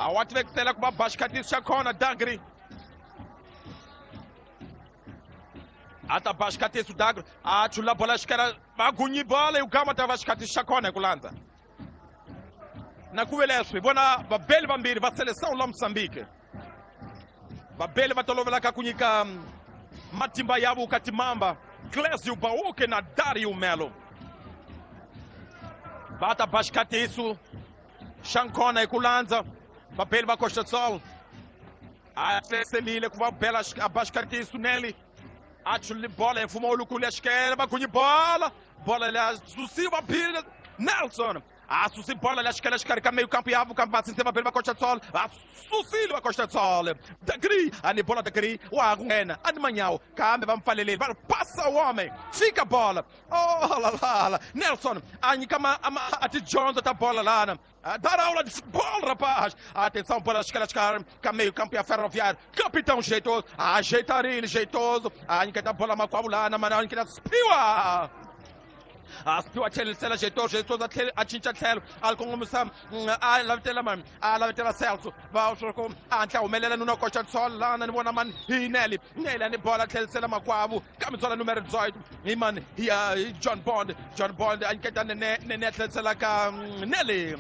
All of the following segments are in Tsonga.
A wa tivekisela ku va ba xikhatisi xa khona Dagri. A ta ba xikhatisi Dagri, a chula bola xikela va gunyi bola yi gama ta va xikhatisi xa khona hi ku landza. Na ku ve leswi hi vona vabeli vambirhi va Seleção la Moçambique. Vabeli va tolovelaka ku nyika matimba ya vo ka timamba, Clésio Bauque na Dario Melo. Va ta ba xikhatisi xa nkhona hi ku landza vabeli va Costa Sol. A tlheselile ku va bela a ba xikhatisi Neli. A chulile bola hi mfumo wulukulu ya xikele, va gunyi bola. Bola leyi a susiwa Bill Nelson. A susi bola leya xikele xikarhi ka meio campo yavo kambe va sinse vabeli va Costa Sol. Va susile va Costa Sol. Dagri, a ni bola Dagri, wa ha ku nghena, a ni manyawo, kambe va mpfaleleli, va ri passa o homem, fika bola. Oh la la la, Nelson a nyika a tidyondzo ta bola lana. Dar aula de futebol, rapaz. Atenção, bola xikarhi xikarhi ka meio campo ya Ferroviário. Capitão jeitoso, ajeitar ele, jeitoso. A nyiketa bola makwavo lana, mana a nyiketa Spiwa. A Spiwa tlhelisela jeitoso, jeitoso a tlhela a cinca tlhelo, a kongomisa, a lavitela mani, a lavitela Celso. Va swi ku a hatla humelela nuna Costa Sol lana, ni vona mani hi Neli. Neli a ni bola tlhelisela makwavo ka mitswala numero 18 hi mani hi John Bond. John Bond a nyiketa Nene, Nene a tlhelisela ka Neli.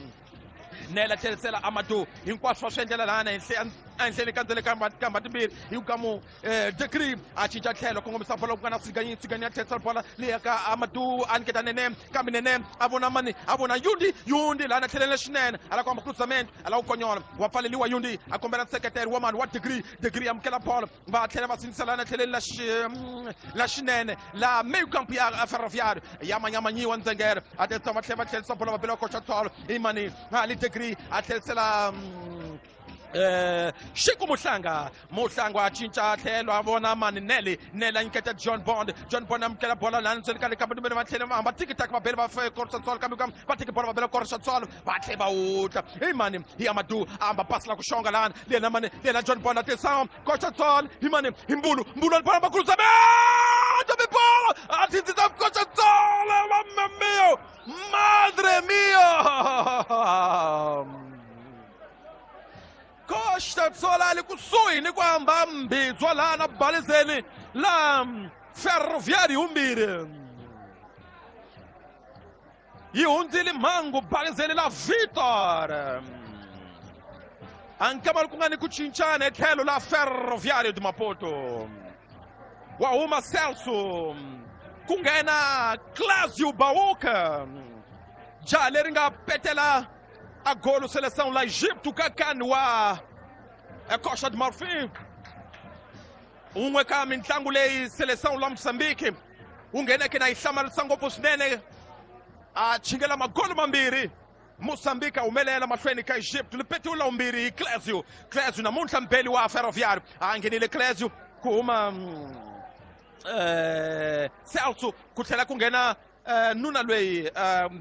Neli a tlhelisela Amadou. Hinkwaswo va swi endlela lana ehenhleni ka ndzele ka mba timbirhi hi ka mu Degree a cinca tlhelo kongomisa bola ku nga na Siganyi, Siganyi a tlhelisela bola leyi ka Amadou, a nyiketa Nene, kambe Nene a vona mani, a vona Yundi, Yundi lana tlhelele swinene, a lava ku hamba cruzamento, a lava ku konyola, wa pfaleliwa Yundi, a kombela nseketelo wa mani wa Degree, Degree amukela bola, va tlhela va sindzisa lana tlheleni la xinene la meio campo ya Ferroviário, ya manyamanyiwa Ndzengere, a tlherisa va tlhela va tlherisa bola va bela Costa Sol, i mani Ali Degree a tlherisela Xiku Muhlanga. Muhlanga a cinca tlhelo a vona mani Neli, Neli a nyiketa John Bond, John Bond amukela bola lani ndzeni ka le kambe va tlhela va hamba tiki taka va bela va Costa Sol, kambe kambe va tiki bola va bela Costa Sol, va tlhela va wutla hi mani hi Amadou, a hamba pasi la ku xonga lani lena mani lena John Bond a tirhisa Costa Sol hi mani hi Mbulu, Mbulu a bola va kulusa be bola a tsindzisa Costa Sol, mamma mia, madre mia. Costa Sol ali kusuhi ni ku hamba mbitswa lana balizeni la Ferroviário yimbirhi. Yi hundzile mhangu balizeni la Vitor. A nkama ku nga ni ku cincana etlhelo la Ferroviário de Maputo. Wa huma Celso, ku nghena Clésio Bauca. Jaha leri nga petela a golo seleção la Egipto ka kani wa Costa de Marfim. Un'we ka mitlangu leyi seleção la Moçambique wu ngheneke na yi hlamarisa ngopfu swinene, a chingela magolo mambirhi. Moçambique a humelela mahlweni ka Egypto, li petiwe la vumbirhi hi Clésio. Clésio namuntlha mbeli wa Ferroviário, a nghenile Clésio ku huma Celso, ku tlhela ku nghena nuna loyi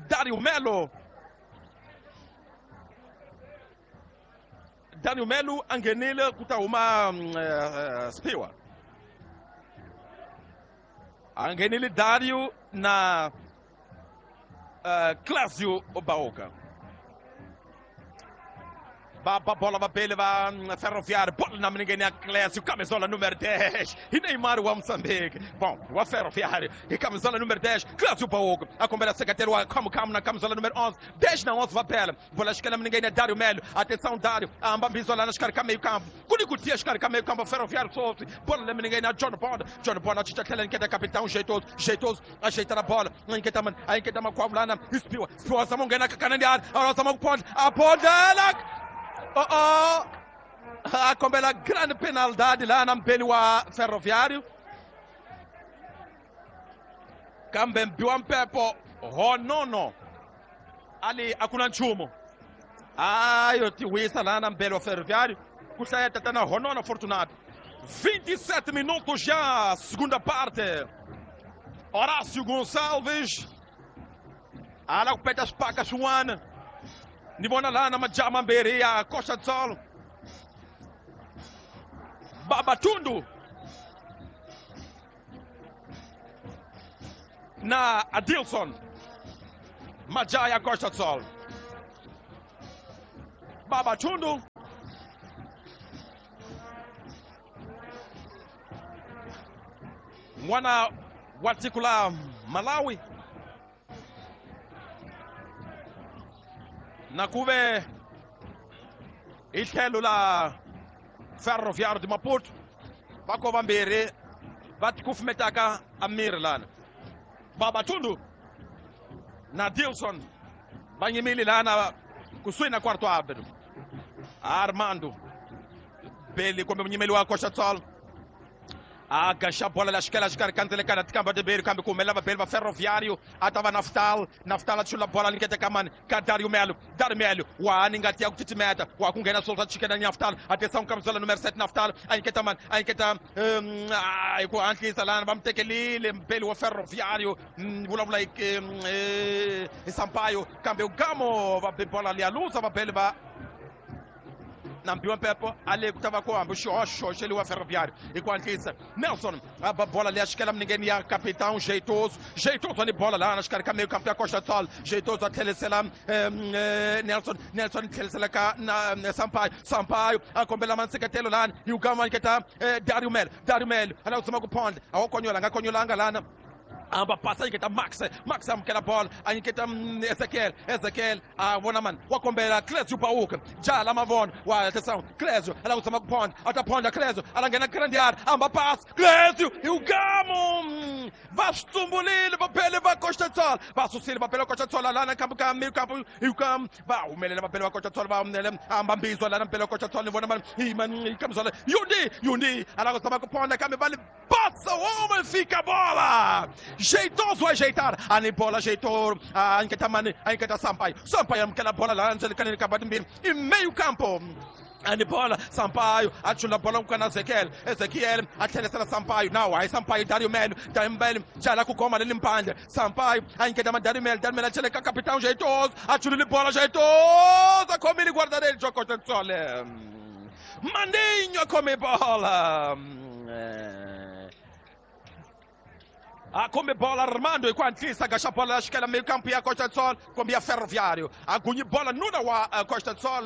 Dario Melo. Dario Melo a nghenile ku ta huma Spiwa. A nghenile Dario na Clésio Bauca. Va ba bola va bele va Ferroviário, bola na minigeni ya Clésio, camisola número 10, e Neymar wa Moçambique. Bom, wa Ferroviário, e camisola número 10, Clésio Bauca, a kombela secretário wa Kamu Kamu na camisola número 11, 10 na 11 va bela. Bola esquerda minigeni ya Dario Melo, atenção Dario, a ambambizo lá na escarca meio campo. Kunikutia escarca meio campo, Ferroviário solto. Bola na minigeni ya John Bond, John Bond a chicha tlhela nketa capitão jeitoso, jeitoso, ajeita na bola, nketa man, a nketa makwavo lana, Spiwa, Spiwa zama ngena kakanani, a zama kupondla, a pondla. Oh, oh. A kombela grande penalidade lá na mbeli wa Ferroviário. Kambe mbiwa mpepo honono ali akuna nchumu. Ayo tiwisa lá na mbeli wa Ferroviário. Ku hlaya tatana Honono Fortunato. 27 minutos já, segunda parte. Horácio Gonçalves. Ala ku peta xipaka xin'wana. Ni vona lana majaha mambirhi ya Costa do Sol. Babatundu na Adilson. Majaha ya Costa do Sol. Babatundu N'wana wa tiko la Malawi na ku ve hi tlhelo la Ferroviário de Maputo va ko vambirhi va tikufumetaka a miri lana. Babatundu na Dilson va nyimile lana kusuhi na quarto árbitro. Armando Beli kumbe munyimeli wa Costa Sol a gaxa bola la xikela xikarhi ka ndzelekana tikamba timbirhi kambe ku humelela vabeli va Ferroviário a ta va Naftal. Naftal a chula bola nyiketa ka mani ka Dario Melo. Dario Melo wa ni ngati ya ku titimeta wa ku nghena swilo swa chikena Naftal a tisa nkamisela numero 7 Naftal a nyiketa mani a nyiketa hi ku hatlisa lana va mu tekelile mbeli wa Ferroviário vulavula hi Sampaio kambe Gamo va be bola liya luza vabeli va nambiwa mpepo ale ku ta va ku hambi xihoxo xeliwa Ferroviário hi ku hatlisa. Nelson a ba bola leya xikela minengeni ya capitão Jeitoso. Jeitoso ni bola lana xikarhi ka meio campo ya Costa Sol. Jeitoso a tlhelisela Nelson. Nelson tlhelisela ka na Sampaio. Sampaio a kombela manseketelo lana hi ugama nyiketa Dario Melo. Dario Melo a lava ku tshama ku phondla a wo konyola nga konyolanga lana. Amba passa nyiketa Max. Max amukela bola a nyiketa Ezekiel. Ezekiel a vona mani wa kombela Clésio Pauka jala mavona wa atenção Clésio ala ku tshama ku phondla a ta phondla Clésio ala nghena grande área amba pass Clésio e o Gamo va swi tsumbulile vabeli va Costa Sol va susile vabeli va Costa Sol lana kambe ka meio campo e o Gamo va humelela vabeli va Costa Sol va humelela amba mbizwa lana mbeli va Costa Sol ni vona mani hi mani kamzola Yundi Yundi ala ku tshama ku phondla kambe va li passa o homem, fica a bola. Jeitoso ajeitar, a bola ajeitou, a Anketamani, a Anketa Sampaio. Sampaio amukela bola lá, Angelica Kabadimbiri, e meio campo. A bola, Sampaio, achula bola com Ezequiel, Ezequiel, a tlhelisela Sampaio, não, aí Sampaio, Dario Melo, Dario Melo, jala ku goma leli mpandle, Sampaio, a Anketama Dario Melo, Dario Melo, acheleka capitão Jeitoso, achula bola Jeitoso, come ele guarda-redes, jogou Costa Sol. Maninho come bola. A come bola Armando e ku hatlisa gaxa bola la xikela meio campo ya Costa Sol kumbe ya Ferroviário. A gunyi bola nuna wa Costa Sol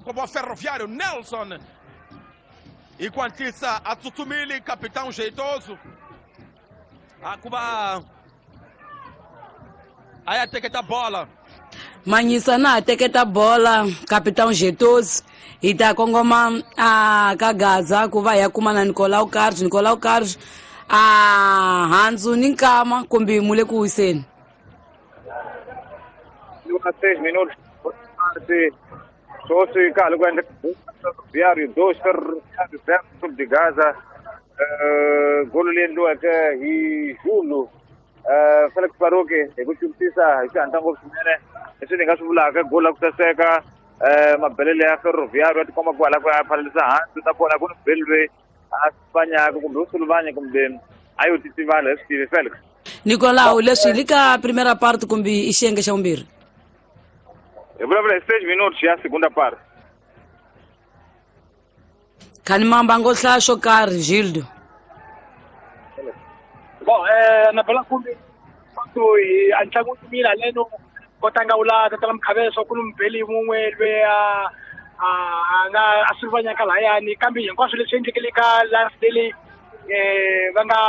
kumbe wa Ferroviário Nelson. E ku hatlisa a tsutsumile capitão Jeitoso. A ku va a ya teketa bola. Manyisa na teketa bola capitão Jeitoso hi ta kongoma a ka Gaza ku va ya kuma na Nicolau Carlos. Nicolau Carlos a handzu ni nkama kumbe mu le ku wiseni. Luka 6 minutos sweswi ka ha ri ku endla Ferroviário 2 Ferroviário 0 Clube de Gaza. Golo leyi endliweke hi Julu Felix Baruki hi ku twisisa hi xihatla ngopfu swinene leswi ni nga swi vulaka golo la ku saseka mabelele ya Ferroviário ya tikomba ku hala ku ya phalalisa hansi nakona ku ni beli loyi a fanyaka kumbe u suluvanya kumbe a yo titivala hi swi tivi Felix. Nicolau leswi li ka primera parte kumbe i xiyenge xa vumbirhi? Hi vulavula hi 6 minutos ya segunda parte. Khani mamba ngo hlaya xo karhi Gildo. Bon, na bela kumbe a ntlangu mina leno kotanga ula tatala mkhaveso ku mbeli mun'we lwe a nga a suluvanyaka lahayani kambe hinkwaswo leswi endlekele ka last day va nga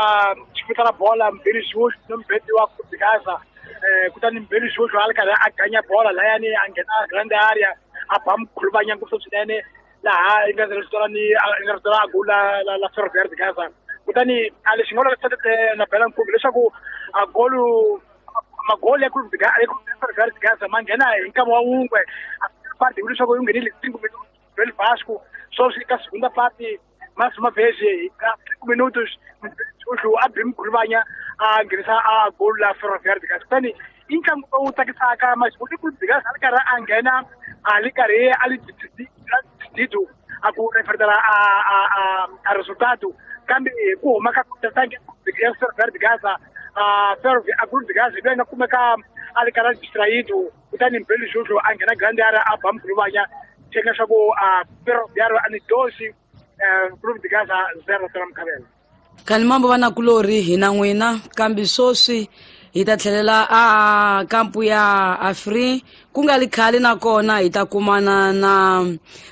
xifutana bola Mbeli Jojo no mbeli wa Gaza kutani Mbeli Jojo a ri karhi a ganya bola lahayani a nghena grande area a ba mkhuluvanya ngopfu swinene laha i nga ni nga ritola a gola la Ferroviário de Gaza. Kutani a lexi nga vula na bela nkumbi leswaku a golo magoli ya Clube de Ferroviário de Gaza ma nghena hi nkama wa wun'we a parte leswaku yi nghenile 5 minutos Bel Vasco sweswi ka segunda parte mais uma vez ka 5 minutos Jojo a bi mkhuluvanya a nghenisa a golo la Ferroviário de Gaza. Kutani i ntlangu lowu tsakisaka masiku Clube de Gaza a ri karhi a nghena a li karhi a li decidido a ku refertela a resultado kambe ku huma ka tanke ya Ferroviário de Gaza a Clube de Gaza loyi nga kumeka a ri karhi a distraído kutani Mbeli Jojo a nghena grande area a ba mkhuluvanya thenga leswaku a Ferroviário a ni dosi Clube de Gaza 0 tela mukhavela. Khani mambo va nakulorhi hina n'wina kambe sweswi Hi ta tlhelela a kampu ya Afri ku nga li khale nakona hi ta kumana na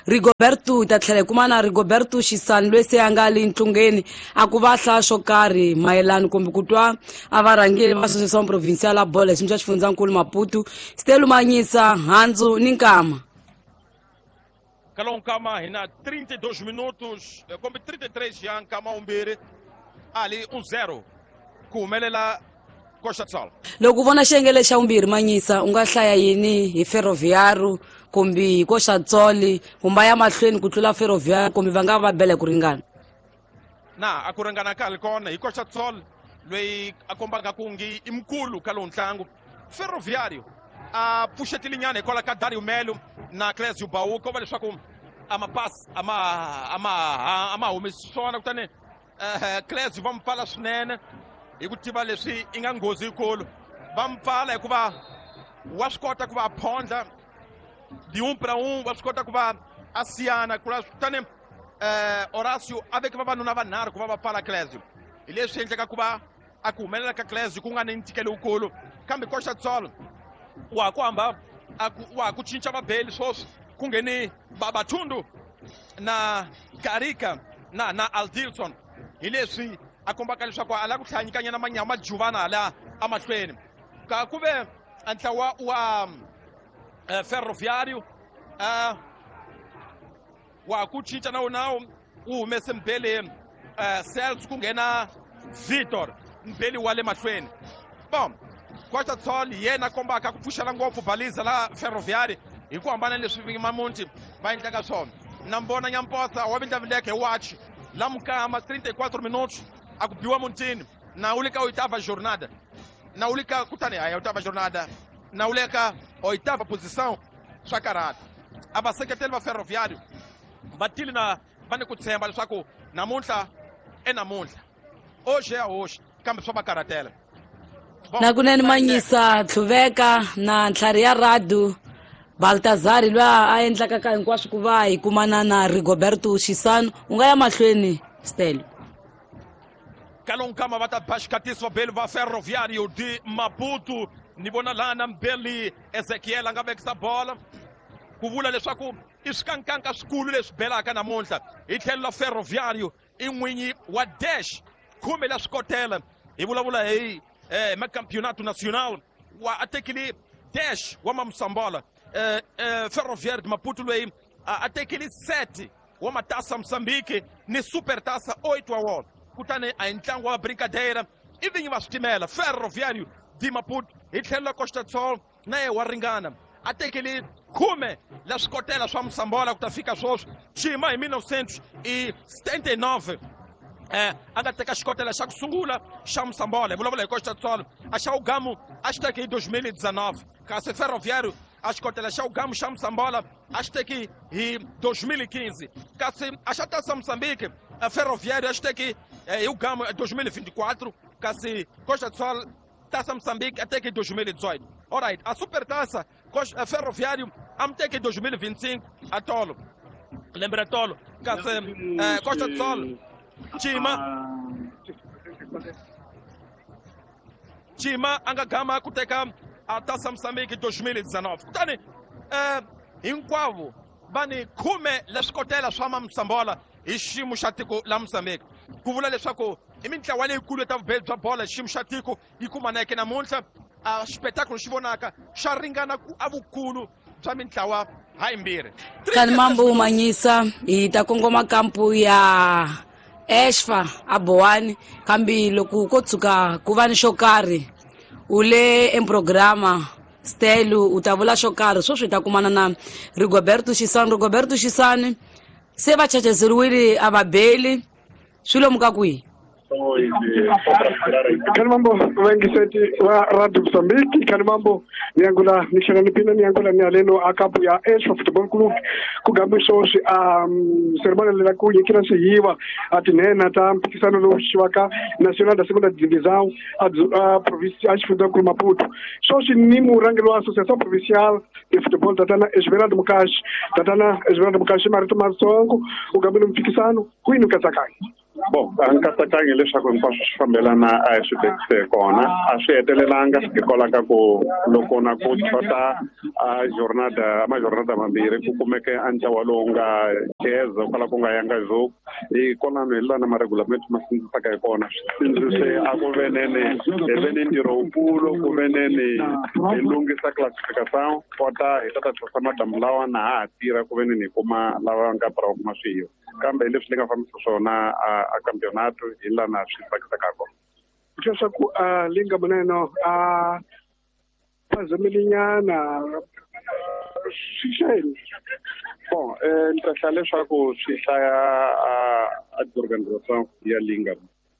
Rigoberto, hi ta tlhela hi kumana na Rigoberto Xisani loyi se a nga li ntlungeni a ku va hlaya swo karhi mayelana kumbe ku twa a varhangeri va Associação Provincial ya Bolo hi xiyimo xa xifundzankulu Maputo. Stelu Manyisa, Handzu ni Nkama. Kalowu nkama hi na 32 minutos kumbe 33 ya nkama wumbirhi ali 1-0 ku humelela Costa do Sol. Loko u vona xiyenge xa vumbirhi Manyisa, u nga hlaya yini hi Ferroviário kumbe hi Costa do Sol, kumbe ya mahlweni ku tlula Ferroviário kumbe va nga va bela ku ringana? Na a ku ringana ka li kona hi Costa do Sol loyi a kombaka ku ngi i mukulu ka lowu ntlangu. Ferroviário a pfuxetile nyana hikwalaho ka Dario Melo na Clésio Baú, ko va leswaku a mapasi a ma humesi swona, kutani Clésio va mu pfala swinene hi ku tiva leswi i nga nghozi yikulu. Va mu pfala hikuva wa swi kota ku va a phondla de 1 para 1, wa swi kota ku va a siyana, kutani Horácio a veke vavanuna vanharhu ku va va pfala Clésio. Hi leswi endleka ku va a ku humelela ka Clésio ku nga ni ntikelo wukulu, kambe Costa do Sol wa ku hamba wa ku cinca vabeli sweswi ku ngheni Babatundu na Karika na Aldilson. Hi leswi a kombaka leswaku a lava ku hlaya nyikanyana manyama juvana hala emahlweni. Ka ku ve ntlawa wa Ferroviário wa ku cinca na wona wu humese mbeli Celso ku nghena Vitor mbeli wa le mahlweni. Bom, Costa do Sol yena kombaka ku pfuxela ngopfu baliza la Ferroviário hi ku hambana leswi Mamunti va endlaka swona. Na mbona Nyamposa wa vindlavindleke hi watch la mukama 34 minutos a ku biwa muntini na ule ka oitava jornada, na ule ka kutani a oitava jornada, na ule ka oitava posição swa karata. A vaseketeli va Ferroviário va tile na va ni ku tshemba leswaku namuntlha e namuntlha oxe ya hoxe, kambe swa va karhatela. Na kunene Manyisa Tlhuveka na ntlhari ya Radu Baltazari loyi a endlaka ka hinkwaswo ku va hi kumana na Rigoberto Xisano. U nga ya mahlweni Stelo. Kalonkama va ta ba xikatiso vabeli va Ferroviário de Maputo. Ni vona lana mbeli Ezekiel a nga vekisa bola ku vula leswaku i swikankanka swikulu leswi belaka namuntlha hi tlhelo la Ferroviário. I n'winyi wa dash khume la swikotela, hi vulavula hi macampeonato nacional wa a tekile dash wa Mamusambola. Ferroviário de Maputo loyi a tekile 7 wa matasa Moçambique ni super tasa 8 wa wona. Kutani a hi ntlangu wa brincadeira i vinyi va switimela Ferroviário de Maputo. Hi tlhelo la Costa do Sol na ye wa ringana, a tekile khume la swikotela swa Moçambola ku ta fika sweswi. Xima hi 1979 a nga teka xikotela xa ku sungula xa Moçambola. Hi vulavula hi Costa do Sol. A xa Ugamu a xi teke hi 2019, kasi Ferroviário a xikotela xa Ugamu xa Moçambola a xi teki hi 2015, kasi a xa Taça Moçambique Ferroviário a xi teki hi Ugamu 2024, kasi Costa do Sol Taça Moçambique a teke hi 2018. Alright, a Super Taça Ferroviário a mi teke hi 2025 a tolo lembe ra tolo, kasi Costa do Sol Chima a nga gama ku teka a Taça Moçambique 2019. Kutani hinkwavo va ni khume leswikotela swa Mamusambola hi xiyimo xa tiko la Moçambique. Ku vula leswaku i mintlawa leyikulu ta vubeli bya bola hi xiyimo xa tiko yi kumaneke namuntlha. A xipetakulu xi vonaka xa ringana ku a vukulu bya mintlawa ha yimbirhi. Kani mambo Manyisa, hi ta kongoma kampu ya Exfa a Bowani, kambe loko ko tshuka ku va ni xo karhi u le emprograma Stelu u ta vula xo karhi sweswi hi ta kumana na Rigoberto Xisani. Rigoberto Xisani se va chachezeriwile a va beli swi lomu ka kwihi? Kani mambo vaingiseti wa Radio Mozambique, kani mambo niangula nixanganipina niangula ni aleno a kampu ya Exfa Football Club ku gambi sweswi a cerimony la ku nyikela swihiwa a tinhena ta mphikisano lowu xiwaka Nacional da Segunda Divisão a província a xifundzankulu Maputo. Sweswi ni murhangeri wa Associação Provincial de Futebol tatana Esmeraldo Mukashi. Tatana Esmeraldo Mukashi, marito matsongo u gambile mphikisano kwini u katsakanya? Bon, a nkatsakanyo leswaku hinkwaswo swi fambelana a hi swi vekise kona a swi hetelelanga hikwalaho ka ku loko na ku xota a jornada majornada mambirhi ku kumeke a ntlawa lowu nga jeza kwala ku nga yanga joku hi kwalano hi lana maregulamento ma sindzisaka hi kona swi sindzise a ku venene hi ve ni ntirho wukulu ku veneni hi lunghisa classification kota hi ta ta tlhisa madamu lawa na ha ha tirha ku veneni hi kuma lava nga para va kuma swiyo kambe leswi ni nga fambisa swona a campeonato hi lana swi tsakisaka kona. Leswaku a linga muneno a phazamelinyana swi xeni. Bon, ni ta hlaya leswaku swi hlaya a organisation ya linga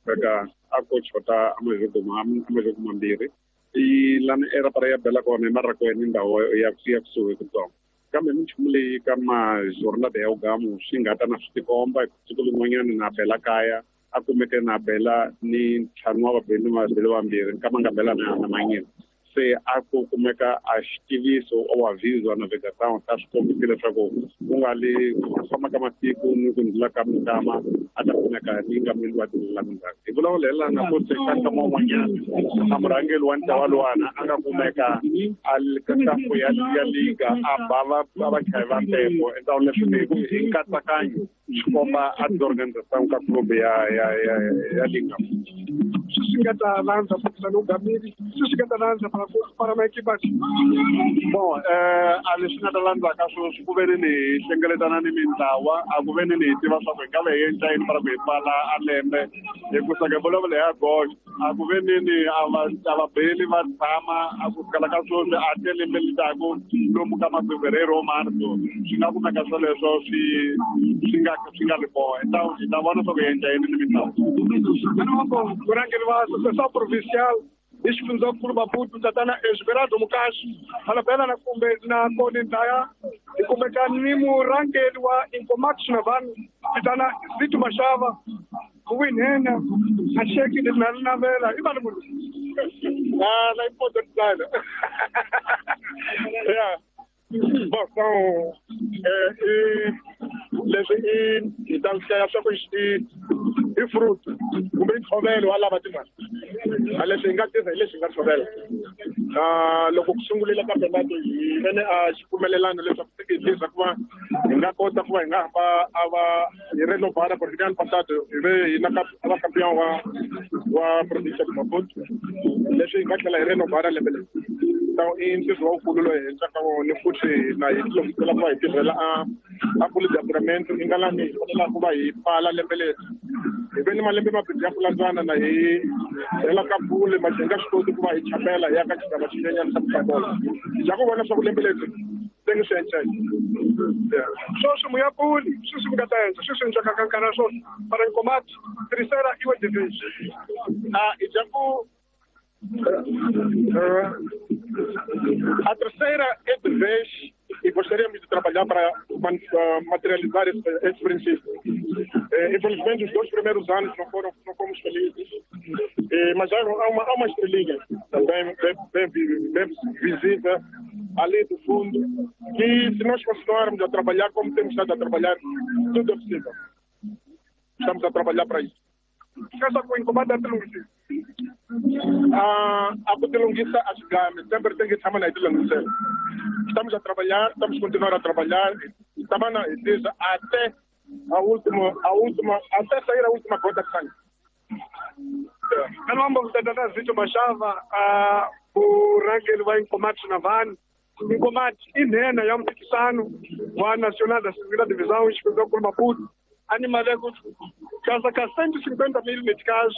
veka a ko xota a majoko mambirhi i lana erapara ya bela kona hi marakweni ndhawu ya kusuhi kutsongo kambe minchumu leyi ka majornada ya ugamu swi nga ta na swi tikomba siku lin'wanyana na bela kaya a kumeke na bela ni ntlhanu wa vabeli vabeli vambirhi nkama nga bela na manyini se a ku kumeka a xitiviso o aviso a navegação ta swi kombisi leswaku ku nga li ku famba ka masiku ni ku ndlula ka minkama a ta kumeka ni nga mili wa tindlela mindzhaku hi vulavula hi lana ku se ka nkama wun'wanyana a murhangeri wa ntlawa luwana a nga kumeka a ka ya liga a ba va vachayi va mpepo endzhaku leswi hi nkatsakanyo swi komba a tiorganisation ka club ya liga. Swi nga ta landza mpikisano wu gamile swi nga ta landza para maekipa. Bon, a leswi nga ta landzaka sweswi ku ve ni hi hlengeletana ni mintlawa a ku ve ni hi tiva swa ku hi nga ve hi endla yini para ku hi pfala a lembe hi ku saka vulavula ya gox a ku ve ni a vabeli va tshama a ku sukela ka sweswi a te lembe litaku lomu ka mafevereiro marso swi nga kumeka swoleswo swi nga ri kona hi ta vona swa ku hi endla yini ni mintlawa. Murhangeri wa Associação Provincial hi xifundzankulu Maputo tatana Esmeraldo Mukashi Malabela na kumbe na koni ndaya hi kumeka ni murhangeri wa Incomax Navan tatana Zito Mashava winhena a xeki na navela i vana munhu na important designer. Yeah. Bon, so leswi i ta hlaya swa ku i fruit kumbe ntshovelo wa lava timali a leswi hi nga tirha hi leswi hi nga tshovela loko ku sungulela campeonato hi vene a xipfumelelano leswaku leswaku va hi nga kota ku va hi nga hamba a va hi renovara porque ano passado hi ve hi na a va campeão wa província de Maputo leswi hi nga tlhela hi renovara lembe leri. Então i ntirho wukulu lowu hi endlaka wona futhi na hi tilunghisela ku va hi tirhela a puli de i nga lani hi fanelaka ku va hi pfala lembe leri hi ve ni malembe mambirhi ya ku landzana na hi hela ka puli ma hi nga swi koti ku va hi chapela hi ya ka xigava xinyenyana xa mutlangola hi ku vona swa ku lembe leri tenge swi encela. Sweswi muya puli sweswi mi nga ta endla sweswi endlaka ka nkarhi sweswi para Nkomati terceira iwe division hi dya ku a terceira é de vez e gostaríamos de trabalhar para materializar esse princípio. Infelizmente, os 2 primeiros anos não fomos felizes, mas há uma estrelinha também bem visível ali do fundo, que se nós continuarmos a trabalhar como temos estado a trabalhar, tudo é possível. Estamos a trabalhar para isso. A kutilungisa a xigami sempre tem que tshama na hi tilunghisela. Estamos a trabalhar, estamos continuar a trabalhar, estamos na até a última, até sair a última gota de sangue. Kalombo tatana Zito Mashava a murhangeri wa Inkomati Navan Inkomati i nhenha ya mpikisano wa Nacional da Segunda Divisão xifundzankulu Maputo animale ku casa ka 150 mil meticais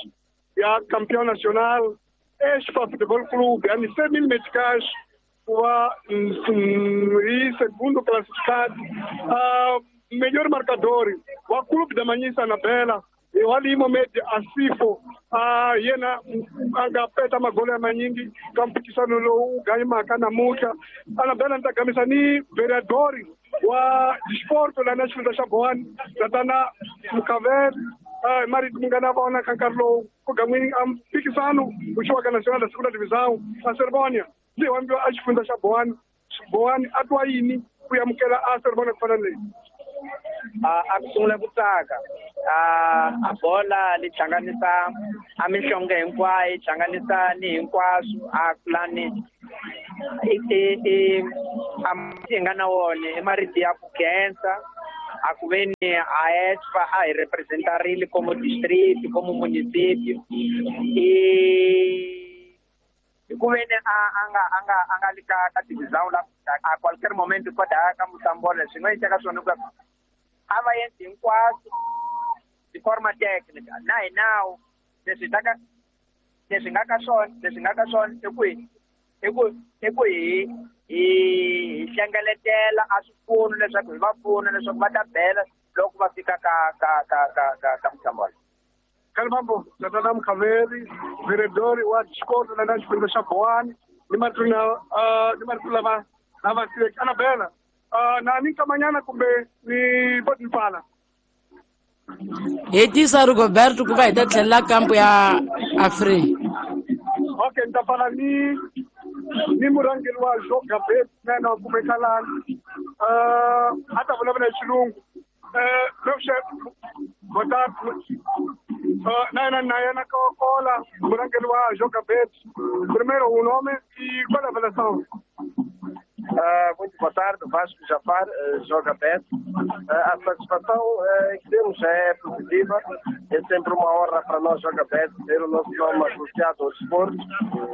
ya campeão nacional Expa Futebol Clube ani 100 mil meticais wa e segundo classificado melhor marcador wa Clube da Manhissa na Bela e wali Mohamed Asifo yena anga peta magoli ya manyingi kampikisano lowu ganyimaka namuntlha Anabela ni ta gamisa ni vereador wa disporto la na xifundza xa Bohani tatana Mukavele marito mi nga na vona ka nkarhi lowu ku gan'wini a mpikisano wu xiwaka Nacional da Segunda Divisão a Cerimônia leyi wambiwa a xifundza xa Bohani Bohani a twa yini ku amukela a cerimônia ku fana na leyi a ku sungula ku tsaka A bola li hlanganisa a minhlonge hinkwayo, yi hlanganisa ni hinkwaswo a kulani i a nga na wona i marito ya ku khensa a ku ve ni a ESFA a hi representarile como district, como municipio, i ku ve ni a nga li ka divisão la a qualquer momento kota ka Moçambola swi nga endleka swona ku a va endli hinkwaswo de forma técnica na hi nawu leswi ta ka leswi nga ka swona i ku hi hlengeletela a swipfuno leswaku hi va pfuna leswaku va ta bela loko va fika ka Moçambola. Kalibambo tatana Mkhaveri vereador wa xikolo la na xifundzha xa Bowani ni marito lama lava siveke Anabela na ni nkamanyana kumbe ni botipala hetisa Rigoberto ku va hi ta tlhelela kampo ya Afri. Okay, ni ta pfala ni murhangeri wa Joga Bet na kumeka lani a ta vulavula hi xilungu. Na yena Kola murhangeri wa Joga Bet. Primeiro o nome e qual é a avaliação? Muito boa tarde, Vasco Jafar, Joga Bet. A satisfação que temos é positiva, é sempre uma honra para nós, Joga Bet, ter o nosso nome associado ao desporto.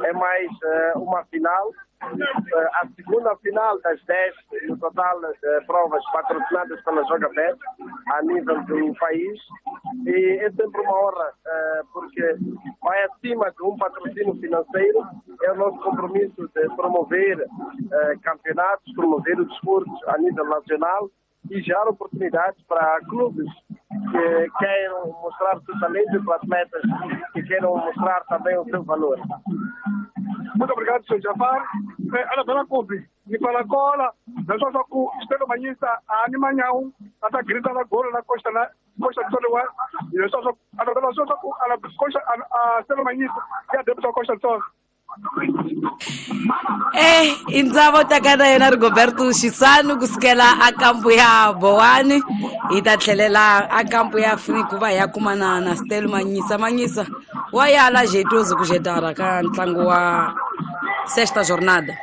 É mais uma final, a segunda final das 10 no total de provas patrocinadas pela Joga Bet a nível do país. E é sempre uma honra, porque vai acima de um patrocínio financeiro, é o nosso compromisso de promover campeonatos, promover o desporto a nível nacional e gerar oportunidades para clubes que queiram mostrar o seu talento e para atletas que queiram mostrar também o seu valor. Muito obrigado, Sr. Jafar. Anabela Kubi, Nicola Cola, na sua ku Stelo Manyisa, a Animanhão, a grita na gola na Costa na Costa do Sol, e só Anabela só ku a Costa a Stelo Manyisa, e a deputada Costa do Sol. Indzavo takana yena Rigoberto Xisanu kusukela a kampu ya Bowani hi ta tlhelela a kampu ya Free ku va hi ya kumana na Stelo Manyisa. Manyisa wa yala jeitoso ku jetara ka ntlangu wa sexta jornada.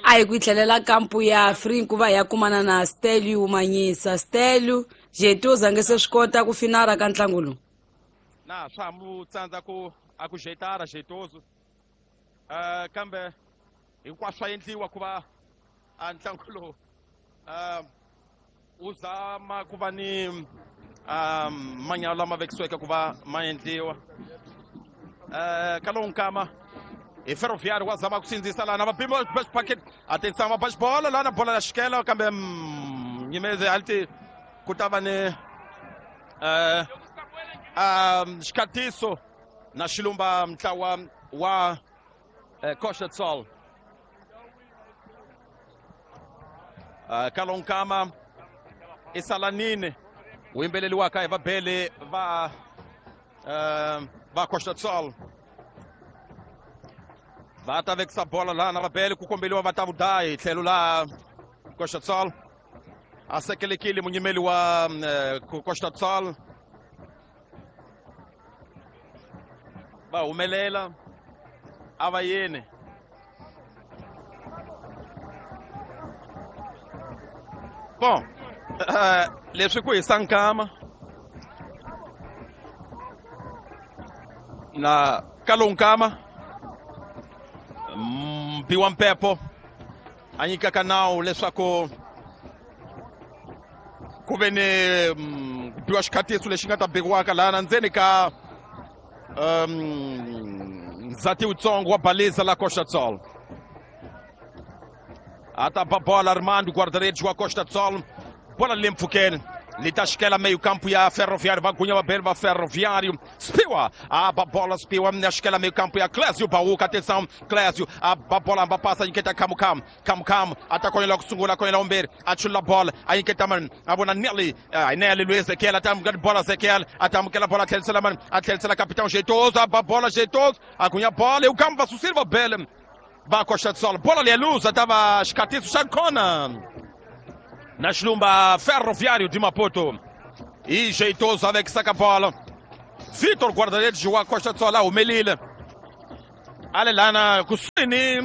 A hi ku tlhelela kampu ya Free ku va hi ya kumana na Stelio Manyisa. Stelio jeitoso a nge se swi kota ku finara ka ntlangu lowu. Na swa ha mu tsandza ku a ku jetara jeitoso, kambe hinkwaswo swa endliwa ku va a ntlangu lowu wu zama ku va ni manyalo lama vekisiweke ku va ma endliwa. Ka lowu nkama hi Ferroviário wa zama ku sindzisa lana va pima packet atenção va ba bola lana bola ya xikela kambe nyimeze alti ku ta va ni xikhatiso na xilumba ntlawa wa Costa do Sol. Kalonkama i Salanini wu yimbeleriwaka hi vabeli va Costa do Sol. Va ta vekisa bola lana vabeli ku kombeliwa va ta vudayi tlhelo la Costa do Sol. A sekelekile munyimeli wa Costa do Sol. Va humelela a va yeni. Bom, leswi ku hisa nkama na ka lowu nkama Mbiwa Mpepo a nyikaka nawu leswaku ku ve ni ku biwa xikhatiso lexi nga ta bikiwaka laha ndzeni ka ndzati wutsongo wa Baliza la Costa do Sol. A ta ba bola Armando, guarda-redes wa Costa do Sol. Bola le mpfhukeni li ta xikela meio campo ya Ferroviário, va gunya vabeli va Ferroviário. Spiwa a ba bola Spiwa ya xikela meio campo ya Clésio Bauca, atenção Clésio a ba bola va passa nyiketa Kamu Kamu Kamu Kamu a ta konyela ku sungula konyela umbirhi a chula bola a nyiketa mani a vona Nelly Nelly Luiz Ezequiel a ta amukela bola Ezequiel a ta amukela bola a tlherisela mani a tlherisela Capitão Jeitoso a ba bola Jeitoso a gunya bola e o Kamu va susile va bele. Va Costa do Sol. Bola ali é luz, tava xikatiso xa kona na xilumba Ferroviário de Maputo. E jeitoso avec saca bola. Vitor guarda-redes wa Costa do Sol a humelile. Ale lana kusini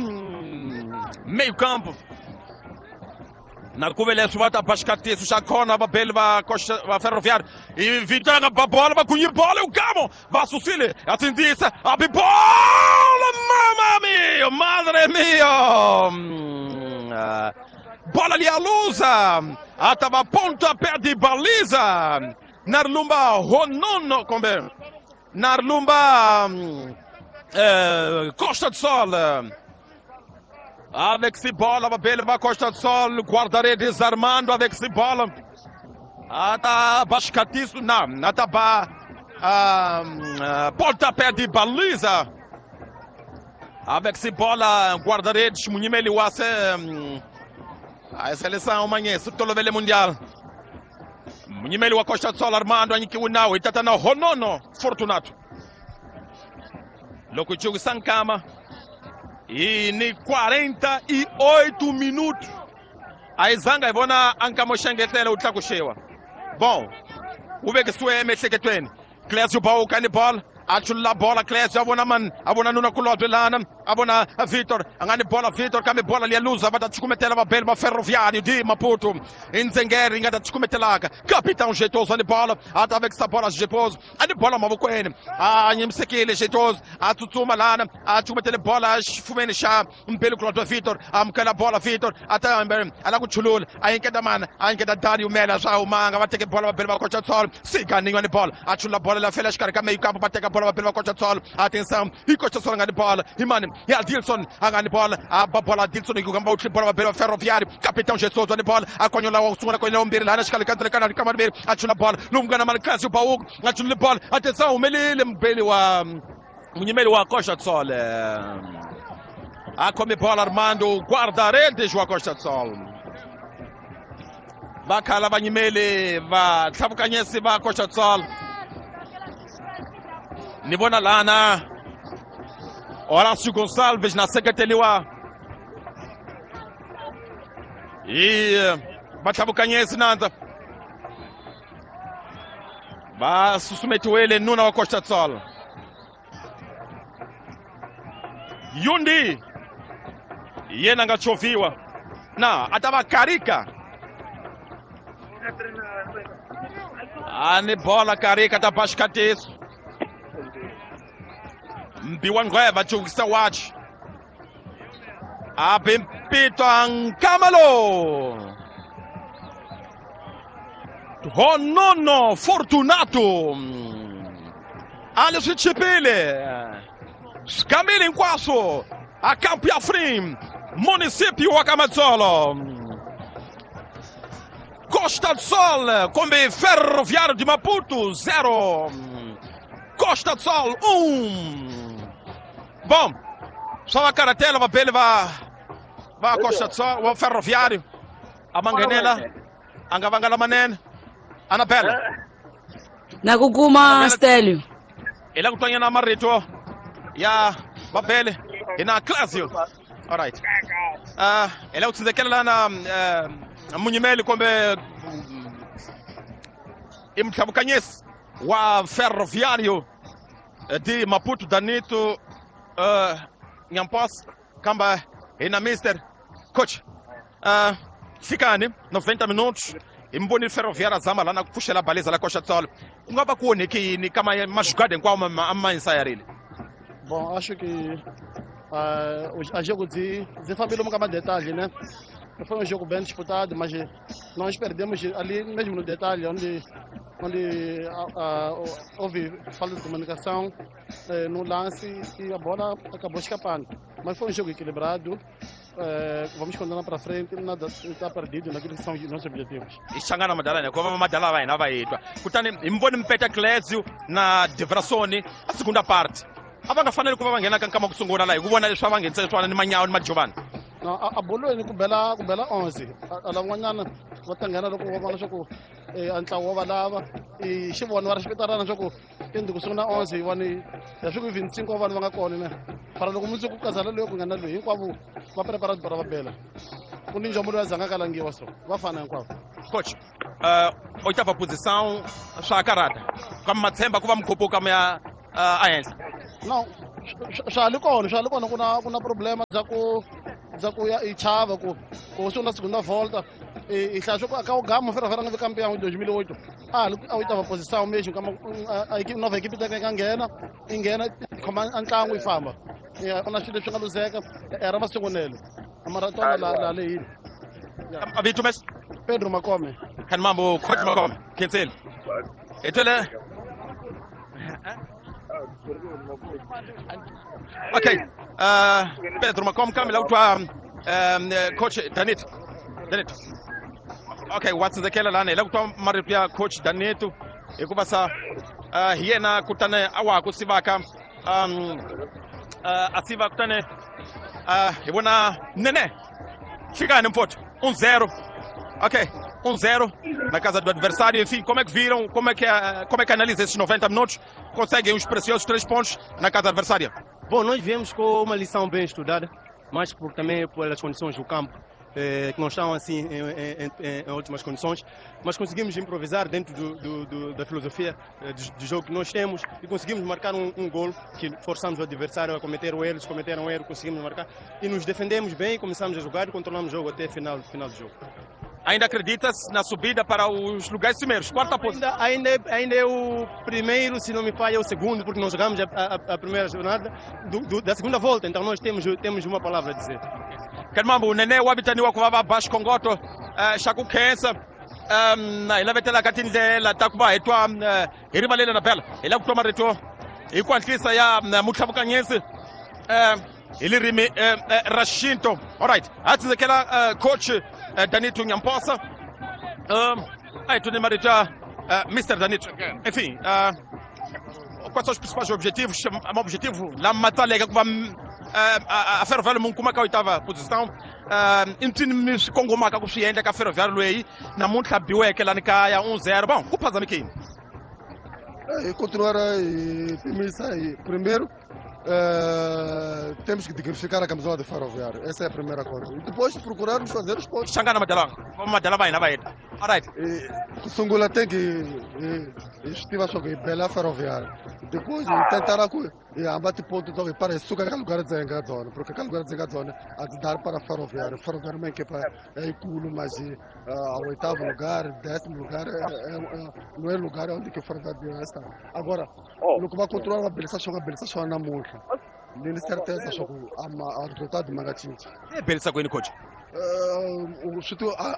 meio campo. Na kuve leswi va ta ba xikatiso xa kona vabeli va Costa va Ferroviário. E Vitor ba bola, va kunyi bola, o Gamo va susile, atsindzisa, abi bola, mamma mia, madre mia. Bola ali a luza, atava pontapé de baliza. Narlumba Ronono, kombe. Narlumba Costa do Sol. Avec si bola, vabeli va Costa do Sol, guarda-redes Armando avec si bola. Ata bascatiço, não, ata ba pontapé de baliza. Avec si bola, guarda-redes munyimeli wa se a seleção manhã, tolovele mundial. Munyimeli wa Costa do Sol Armando anyikiwe nawo itata na Honono Fortunato. Loko jogo sankama. E ni 48 minutos. A zanga ivona ankamoxengetela u tlakuxiwa. Bom, u vekisiwe emiehleketweni. Clésio Bauka ni bola, a chulula bola Clésio, a vona man, a vona nuna kulobye lana, a vona Vitor, a nga ni bola Vitor, kambe bola liya luza, va ta cukumetela vabeli va Ferroviário de Maputo. Ndzengeri yi nga ta cukumetelaka. Capitão jeitoso ni bola, a ta vekisa bola jeitoso, a ni bola mavokweni, a nyimisekile jeitoso, a tsutsuma lana, a cukumetele bola xifuveni xa mbeli kulobye Vitor, a amukela bola Vitor, a ta a la ku chulula, a yinketa mana, a yinketa Dario Mela swa humanga, va teke bola vabeli va Costa do Sol, Siganinho ni bola, a chulula bola la fela xikarhi ka meio campo, va teka bola vabeli va Costa do Sol, atenção, e Costa do Sol nga ni bola, e mani, e Adilson a nga ni bola, a ba bola Adilson ku kamba u tlhe bola vabeli va Ferroviário, capitão Jesus ni bola, a konyola wa sungula konyola wa mbirhi lana xikarhi ka ka ka mambirhi, a chula bola, lomu nga na mani Clésio Bauko, a chulule bola, atenção, humelile mbeli wa munyimeli wa Costa do Sol. A come bola Armando, guarda-redes wa Costa do Sol. Va khala vanyimeli va tlhavukanyesi va Costa do Sol. Ni vona lana Horácio Gonçalves na seketeliwa hi vatlhavukanyesi nandza va susumetiwile nuna wa Costa do Sol. Yundi yena nga chovhiwa na a ta va Karika. A ni bola Karika ta ba xikatiso. Mbiwa Ngweva jukisa wachi. Abimpito Nkamalo. Honono Fortunato. Ale swi chipile. Skamile hinkwaswo. A Campo Afrim, município wa Kamatsolo. Costa do Sol kombe Ferroviário de Maputo 0. Costa do Sol 1. Bom, só va karatela vabeli va Costa do Sol, wa Ferroviário. A manghenela a nga vanga lamanene. Anabela. Na ku kuma Stelio. Hi la ku twanyana marito ya vabeli hi na Clésio. All right. Hi la ku tsindzekela na munyimeli kumbe i mutlhavukanyesi wa Ferroviário de Maputo Danito Nhampos, kamba hi na Mister Coach. Fikani 90 minutos hi mi vonile Ferroviário zama lana ku pfuxela baliza la Costa do Sol. Ku nga va ku onheke yini ka majugada hinkwawo a ma insayarile? Bom, acho que a jogo de família nunca mais detalhe, né? Foi um jogo bem disputado, mas nós perdemos ali mesmo no detalhe, onde houve falta de comunicação no lance e a bola acabou escapando. Mas foi um jogo equilibrado, vamos continuar para frente, nada está perdido naquilo que são os nossos objetivos. I xangana madala ne kova madala va hina va hi twa. Kutani hi mi vone Mpeta Clésio na Devrasoni a segunda parte. A va nga faneli ku va va nghena ka nkama ku sungula laha hi ku vona leswi va va nghenisa swona ni Manyawo ni Majovani. No, a bolweni ku bela 11. A lavan'wanyana va ta nghena loko va vona leswaku a ntlawa wa va lava. I xi vona va ri xipitarana leswaku Ende ku sungula 11 yiwani ya swi ku 25 wa vanhu va nga kona ne. Para loko mundzuku ku kazala loyi ku nga na loyi hinkwavo va prepara para va bela. Ku ni njomo loyi a zanga kalangiwa so va fana hinkwavo. Coach, oitava posição swa karata. Kama matshemba ku va mukhupuka mi ya a henhla. No, swa li kona ku na problema bya ku ya i chava ku sungula segunda volta. E hlaya swa ku ka o Gamo Ferroviário nga vi campeão em 2008. A oitava posição mesmo, kama a equipe nova equipe ta nga nghena, i nghena khoma ntlangu yi famba. Ya ku na swilo leswi nga luzeka, era masungulelo. Maratona la lehile. Avito mes Pedro Makome. Kan mambo coach Makome. Kensel. Etele. Okay. Pedro Makome kambe la utwa coach Danit. Danit. Okay, watsindzekela lana hi la ku twa marito ya coach Danito hikuva sa hi yena kutani a wa ha ku sivaka a siva kutani hi vona nene xikani mfowethu 1-0. Ok, 1-0 na casa do adversário. Enfim, como é que viram? Como é que analisa esses 90 minutos? Conseguem os preciosos 3 pontos na casa adversária? Bom, nós viemos com uma lição bem estudada, mas também pelas condições do campo, que não estão assim em ótimas condições, mas conseguimos improvisar dentro da filosofia do jogo que nós temos e conseguimos marcar um gol que forçamos o adversário a cometer o erro, eles cometeram um erro, conseguimos marcar e nos defendemos bem, começamos a jogar e controlamos o jogo até o final do jogo. Ainda acredita-se na subida para os lugares cimeiros? Quarta posição. Ainda é o primeiro, se não me falha, é o segundo, porque nós jogamos a primeira jornada da segunda volta, então nós temos uma palavra a dizer. Kanmambo nene wa vitaniwa ku va va ba xikhongoto xa ku khensa hi lavetela ka tindlela ta ku va hi twa hi rivalela na bela hi lava ku twa marito hi ku hatlisa ya mutlhavukanyisi hi ririmi ra xinto. Alright, ha tsindzekela coach Danito Nyamposa. A hi tweni marito ya Mr. Danito. Enfim, quais são os principais objetivos? Um objetivo lama matsaleke ku va a Ferroviário mu kuma ka oitava posição. I ncini swi kongomaka ku swi endla ka Ferroviário leyi namuntlha biweke lani kaya 1-0. Bom, ku phazamekini. Continuar a pimisa primeiro. Temos que dignificar a camisola de Ferroviário. Essa é a primeira coisa. E depois procurarmos fazer os pontos. Xangana Madalanga. Madala vai na vai. Alright. Sungula tem que estiva só que bela Ferroviário. Depois tentar abate ponto então para sugar aquele lugar de zona, porque aquele lugar de zona a dar para Ferroviário. Ferroviário uma equipa é culo, mas ao oitavo lugar, 10º lugar, não é lugar onde que o Ferroviário está. Agora, no que vai controlar a beleza só na multa. Nem certeza só o resultado magatinho. É beleza com ele coach.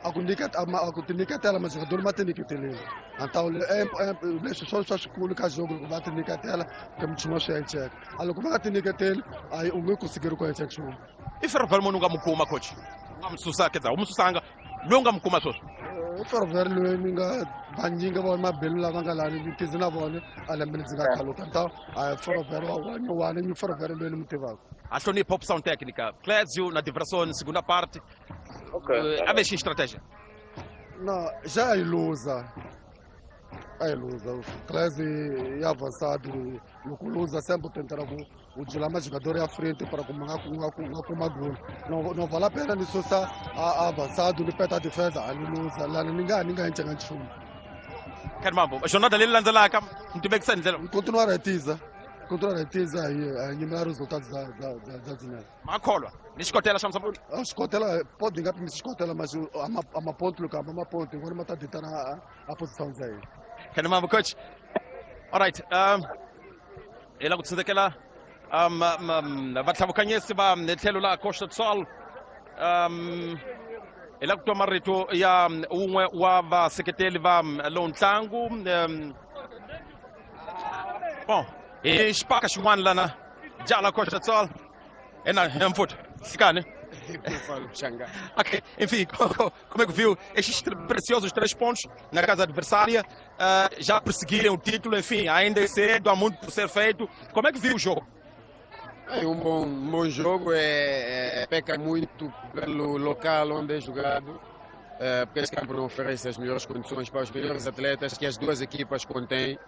A kunikatela mas jogador mateniketele. Então é só escola jogo matenikatela que me chamou check. Algo mateniketele aí o meu conseguiu com check show. E Ferroviário nunca mukuma coach. Ngamsusa quer dizer, umsusanga longa mukuma só. Ferroviário ninga banjinga ba mabelu la bangalani bitizina bone alembe khalo então a Ferroviário wa ni Ferroviário lweni mutivako. Achou ni pop sound técnica. Clésio na diversão segunda parte. Okay. A mexer estratégia. Não, já é ilusa. É ilusa. Clésio é avançado. O Lusa sempre tentará o dilema jogador à frente para kuma gol. Não vale a pena nisso só avançado, ele peta a defesa, a ilusa, lá ninguém enxerga nchumu. Caramba, a jornada dele lança lá, muito bem que sai. Continuar a tiza. Continuar a tiza e a eliminar os resultados da Zinel. Makholwa, ni xikotela xa Mozambique. A xikotela pode nga pimisa xikotela, mas a maponto luka, a maponto, agora mata deitar a posição dele. Caramba, coach. All right, ela ku tsindzekela vatlhavukanyisi va tlhelo la Costa do Sol. Hi la ku twa marito ya wun'we wa vaseketeli va lowu ntlangu. Bom, hi xipaka xin'wana lana jala Costa do Sol. Ena mfuto xikani. Ok, enfim, como é que viu estes preciosos 3 pontos na casa adversária, já perseguirem o título, enfim, ainda é cedo, há muito por ser feito. Como é que viu o jogo? É um bom jogo, peca muito pelo local onde é jogado, porque esse campo não oferece as melhores condições para os melhores atletas que as duas equipas contêm.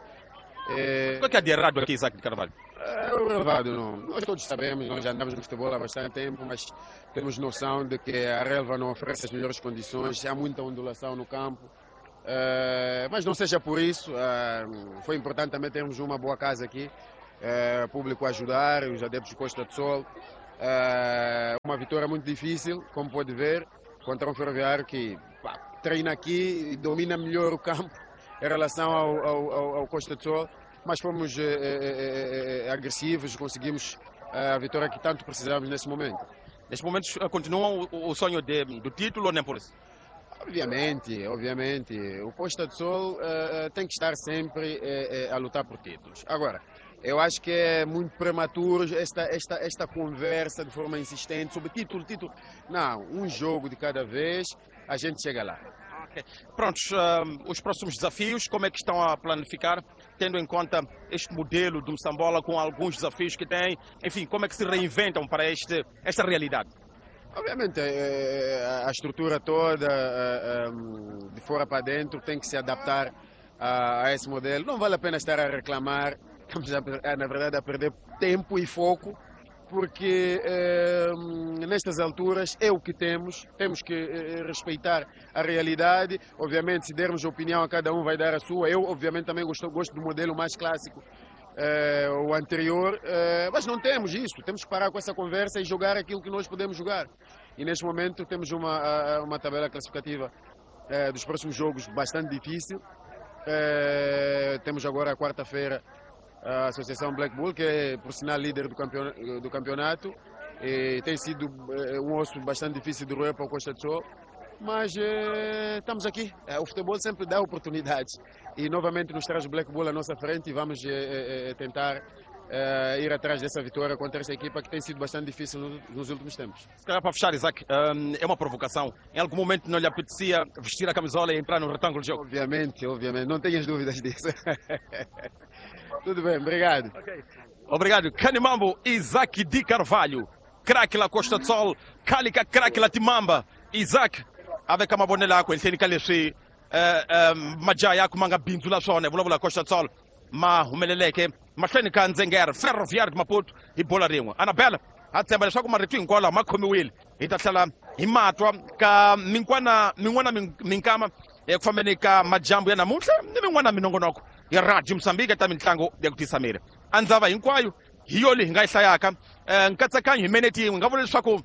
O que é de errado aqui, Isaac de Carvalho? É o relevado, não. Nós todos sabemos, nós já andamos no futebol há bastante tempo, mas temos noção de que a relva não oferece as melhores condições, há muita ondulação no campo. Mas não seja por isso, foi importante também termos uma boa casa aqui, público a ajudar, os adeptos de Costa do Sol. Uma vitória muito difícil, como pode ver, contra um Ferroviário que treina aqui e domina melhor o campo em relação ao Costa do Sol, mas fomos agressivos, conseguimos a vitória que tanto precisávamos nesse momento. Neste momento continuam o sonho do título ou nem por isso? Obviamente, obviamente. O Costa do Sol tem que estar sempre a lutar por títulos. Agora, eu acho que é muito prematuro esta conversa de forma insistente sobre título, título. Não, um jogo de cada vez, a gente chega lá. Okay. Prontos, os próximos desafios, como é que estão a planificar, tendo em conta este modelo do Moçambola com alguns desafios que tem, enfim, como é que se reinventam para esta realidade? Obviamente, a estrutura toda, de fora para dentro, tem que se adaptar a esse modelo. Não vale a pena estar a reclamar, estamos, na verdade, a perder tempo e foco, porque nestas alturas é o que temos, temos que respeitar a realidade. Obviamente, se dermos opinião a cada um vai dar a sua. Eu, obviamente, também gosto do modelo mais clássico, o anterior, mas não temos isso, temos que parar com essa conversa e jogar aquilo que nós podemos jogar. E neste momento temos uma tabela classificativa dos próximos jogos bastante difícil. Temos agora a quarta-feira a Associação Black Bull, que é, por sinal, líder do campeonato, e tem sido um osso bastante difícil de roer para o Costa do Sol, mas estamos aqui. O futebol sempre dá oportunidades e novamente nos traz o Black Bull à nossa frente e vamos tentar ir atrás dessa vitória contra esta equipa que tem sido bastante difícil nos últimos tempos. Se calhar para fechar, Isaac, é uma provocação. Em algum momento não lhe apetecia vestir a camisola e entrar no retângulo de jogo? Obviamente, obviamente. Não tenhas dúvidas disso. Tudo bem, obrigado. Okay. Obrigado. Canimambo, Isaac de Carvalho, craque la Costa do Sol, Calica craque la Timamba. Isaac, avec mabonela yakwe ehenhleni ka leswi majaha ya ma nga bindzula swona hi vulavula Costa do Sol ma humeleleke mahlweni ka Ndzengere Ferroviário de Maputo hi bola rin'we. Anabela ha tshemba leswaku marito hinkwawo lawa ma khomiwile, hi ta tlhela hi matwa ka min'wana minkama eku fambeni ka majambu ya namuntlha ni min'wana minongonoko ya Radio Mozambique ta mitlangu ya ku tisa miri. A ndzava hinkwayo hi yo leyi hi nga yi hlayaka nkatsakanyo hi minete yin'we, hi nga vula leswaku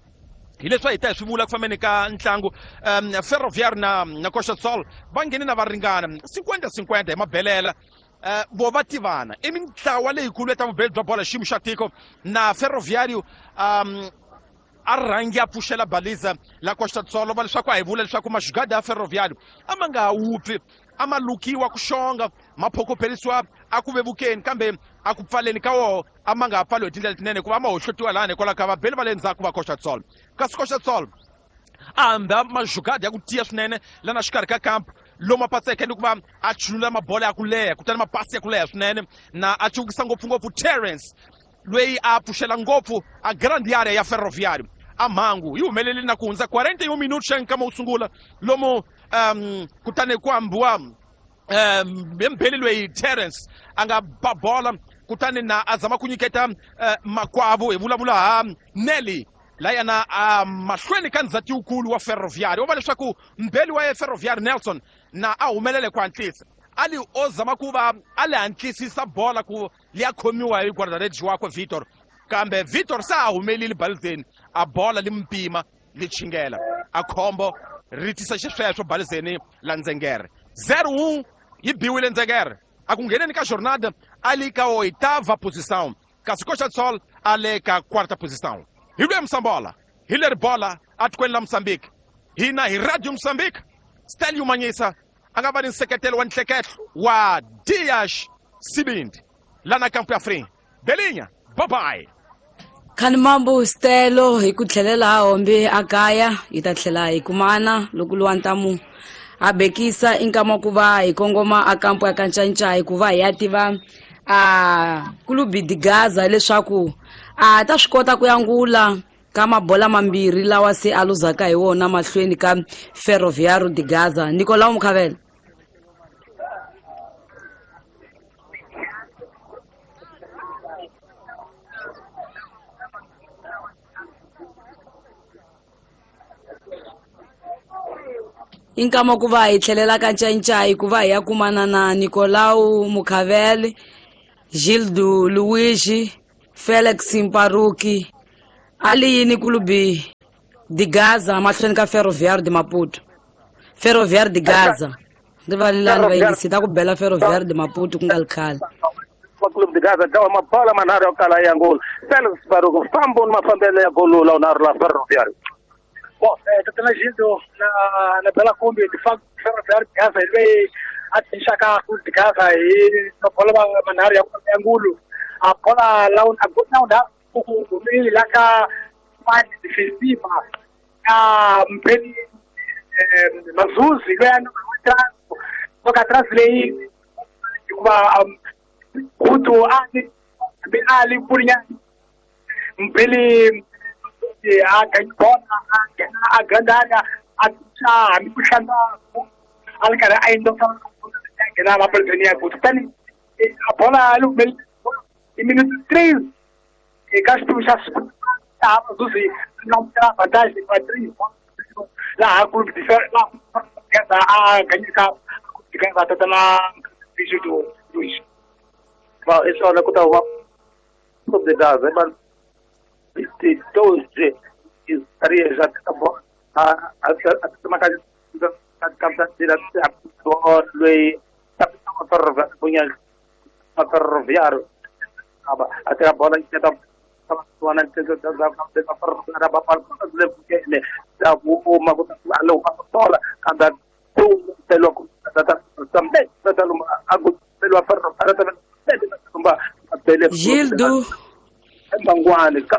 hi leswi a hi ta hi swi vula ku fambeni ka ntlangu. Ferroviário na Costa do Sol va nghene na va ringana 50-50 hi mabelela. Vo va tivana i mintlawa leyikulu ya ta vubeli bya bola xiyimo xa tiko na Ferroviário a rhangi a pfuxela baliza la Costa do Sol, va leswaku a hi vula leswaku maxugada ya Ferroviário a ma nga ha wupfi, a ma lukiwa ku xonga, ma phokopherisiwa a ku vevukeni, kambe a ku pfaleni ka woho a ma nga ha pfaliwi hi tindlela tinene hikuva a ma hohlotiwa lani hikwalaho ka vabeli va le ndzhaku va Costa do Sol. Kasi Costa do Sol a hamba maxugada ya ku tiya swinene lana xikarhi ka kampu lomu a patseke ni ku va a chulula mabola ya ku leha, kutani mapasi ya ku leha swinene, na a cukisa ngopfungopfu Terence loyi a pfuxela ngopfu a grande area ya Ferroviário. A mhangu yi humelele na ku hundza 41 minutos xa nkama wo sungula lomu kutani ku hambiwa mbeli loyi Terence a nga ba bola, kutani na a zama ku nyiketa makwavo, hi vulavula ha Nelly layana a mahlweni ka ndzhati wukulu wa Ferroviário. Wo va leswaku mbeli wa Ferroviário Nelson na a humelele ku hatlisa, a li o zama ku va a li hatlisisa bola ku liya khomiwa hi guarda-redes wakwe Vitor, kambe Vitor se a humelile balizeni, a bola li mpima li chingela, a khombo ri tisa xisweswo balizeni la Ndzengere. 0-1 yi biwile Ndzengere, a ku ngheneni ka jornada a li ka oitava posição, kasi Costa do Sol a le ka quarta posição. Hi lwe Moçambola, hi leri bola atikweni la Mozambique, hina hi Radio Mozambique. Stelio Manyisa a nga va ni nseketelo wa nhlekehlo wa Dias Sibindi lana kampu ya Free Belinya. Bye bye. Khanimambo Stelo hi ku tlhelela hombe a kaya, hi ta tlhela hi kumana loko luwa ntamu a bekisa i nkama ku va hi kongoma a kampu ya Kancancai ku va hi ya tiva a Clube de Gaza leswaku a ta swi kota ku yangula ka mabola mambirhi lawa se a luzaka hi wona mahlweni ka Ferroviário de Gaza. Nicolau Mukhavela. I nkama ku va hi tlhelela ka Ncayincayi ku va hi ya kumana na Nicolau Mukhavele, Gildo Luigi, Felix Mparuki, ali yini Clube de Gaza mahlweni ka Ferroviário de Maputo. Ferroviário de Gaza. Rivalelani vayingisi ta ku bela Ferroviário de Maputo ku nga ri khale. Clube de Gaza dlawa mabola manharhu ya ku kala ya ngolo. Felix Baruku fambo ni mafambelo ya golo la unharhu la Ferroviário. Bom, tatana Gildo na Bela Kombi, de facto Ferroviário de Gaza loyi a tshunxaka Clube de Gaza hi mabola manharhu ya ngulu. A bola la a golo la ku humile la ka fani defensiva ya Mpeni Mazuzi loyi a nga ka translate hikuva Kutu ali ali kulinya Mpeli a gangona a gandana a tsa mi kuhlanda a ri karhi a endla nghena mapolotoni ya Kutu tani a bola lu i minuto 3 eka xiphemu xa laha Mazuzi na vantagem pa 3 laha Clube de Gaza a ganyika Gaza tatana Bijudo Luiz. Bom, i swona ku ta huma Clube de Gaza 12 estaria já a até a bola que tá Gildo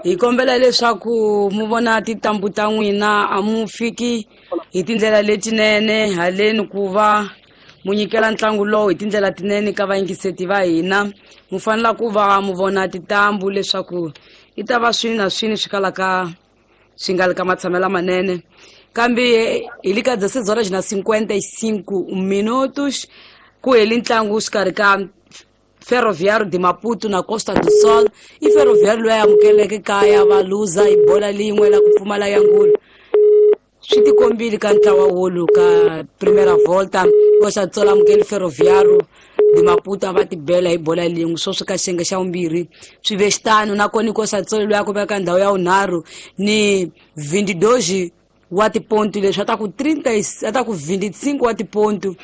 hi kombela leswaku mu vona tintambu ta n'wina a mu fiki hi tindlela letinene haleni ku va mu nyikela ntlangu lowu hi tindlela tinene ka vayingiseti va hina. Mu fanela ku va mu vona tintambu leswaku i ta va swini na swini swi kalaka swi nga li ka matshamelo manene. Kambe hi le ka 16:55 minutos ku heli ntlangu xikarhi ka Ferroviário de Maputo na Costa do Sol. I Ferroviário loyi a amukeleke kaya va luza hi bola lin'we la ku pfumala ya ngulu. Swi tikombile ka ntlawa wolu ka Primeira Volta. Costa do Sol amukele Ferroviário de Maputo a va tibela hi bola lin'we sweswi ka xiyenge xa vumbirhi swi ve xitano. Nakona Costa do Sol loyi a kumeka ndhawu ya vunharhu ni 22 wa tipontu leswi a ta ku 30 a ta ku 25 wa tipontu.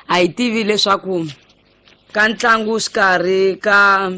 A hi tivi leswaku ka ntlangu xikarhi ka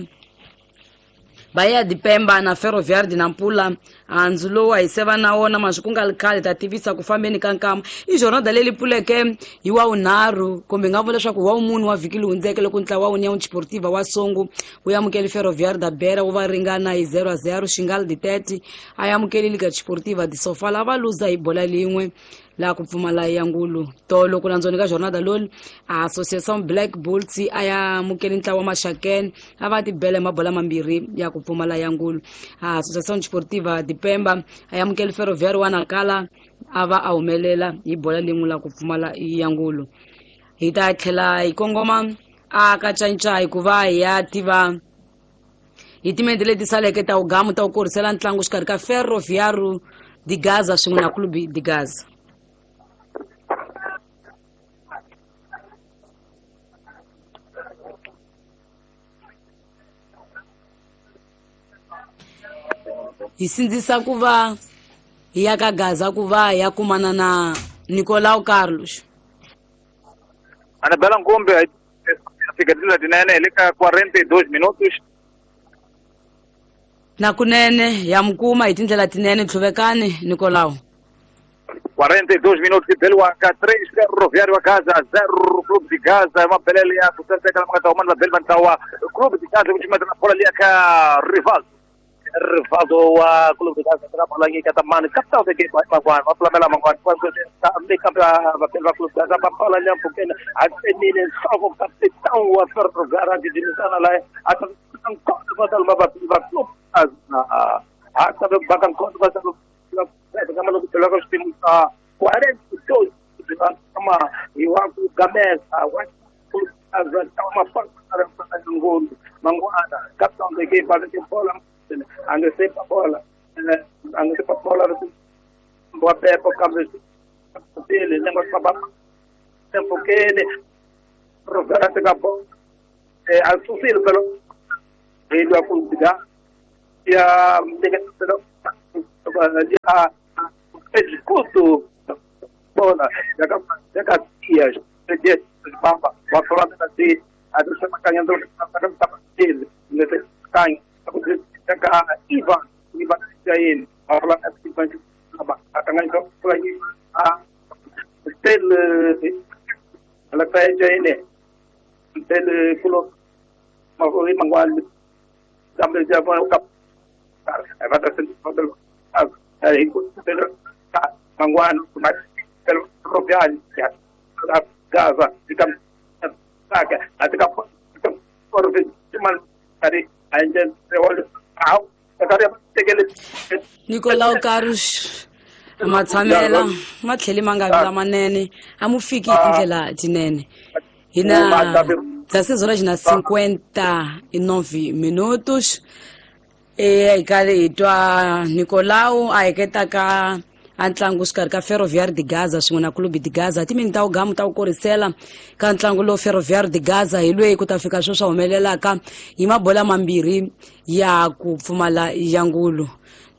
Bahia de Pemba na Ferroviário de Nampula handzu lowu a hi seva na wona maswi ku nga ri khale ta tivisa ku fambeni ka nkama. I jornada leyi pfuleke hi wa vunharhu kumbe hi nga vula leswaku wa vumune wa vhiki leyi hundzeke loko ntlawa wa União Desportiva wa Songo wu amukele Ferroviário da Beira wu va ringana hi 0-0. Xingal de Tete a amukele Liga Desportiva de Sofala va luza hi bola lin'we laha ku pfumala ya ngulu. Tolo ku landzoni ka jornada lolu Associação Black Bulls a ya amukele ntlawa wa Maxakene a va tibela hi mabola mambirhi ya ku pfumala ya ngulu. Associação Desportiva de Pemba a ya amukele Ferroviário wa Nacala a va a humelela hi bola lin'we la ku pfumala ya ngulu. Hi ta tlhela hi kongoma a ka Ncayincayi ku va hi ya tiva hi timente leti saleke ta wugamu ta ku korisela ntlangu xikarhi ka Ferroviário de Gaza swin'we na Clube de Gaza. Hi sindzisa ku va hi ya ka Gaza ku va hi ya kumana na Nicolau Carlos. Anabela Nkombe fika tindlela tinene hi le ka 42 minutos. Na kunene ya mukuma hi tindlela tinene tlhuvekani Nicolau. 42 minutos beliwa ka 3 Ferroviário wa Gaza 0 Clube de Gaza. Mabelele ya ku saseka lama nga ta huma ni vabeli va ntlawa Clube de Gaza ku cimeta na bola liya ka Rivaldo. Rivaldo wa Clube de Gaza ka bola nyika ta mani capital de game mangwana va pfulamela mangwana kambe vabeli va Clube de Gaza va bola liya mpfhukeni a tsemile nhloko capitão wa Ferroviário a gijimisana laye a nkondo va taluma vabeli va Clube a tabe baka nkondo va taluma kama loko beliwa ka xiphemu xa 42 kama hi wa ku gamesa wa ngulu mangwana capitão de game va veke bola angesepa bola angesepa bola wa pepo kambe pele milenge va famba empfhukeni Ferroviário teka bolo a susile phela hi lwa ku diga ya ya executo bola ya ka tia de pamba va famba na ti a ti sema kanyando ka ka dele ne te kan ka Ivan Jain va famba na ti bank ba a tanga ko a tel la ka Jain tel kulo ma ko mangwal tambe ja ba ka va ta sen a mangwano Ferroviário Gaza Nicolau Carlos matshamela ma tlheli ma nga vi lamanene a mu fiki hi tindlela tinene hina 16 horas na 59 minutos hi kale hi twa Nicolau a heketaka a ntlangu xikarhi ka Ferroviário de Gaza swin'we na Clube de Gaza timini ta wugamu ta ku korisela ka ntlangu lowu Ferroviário de Gaza hi lweyi ku ta fika swo swa humelelaka hi mabola mambirhi ya ku pfumala ya ngulu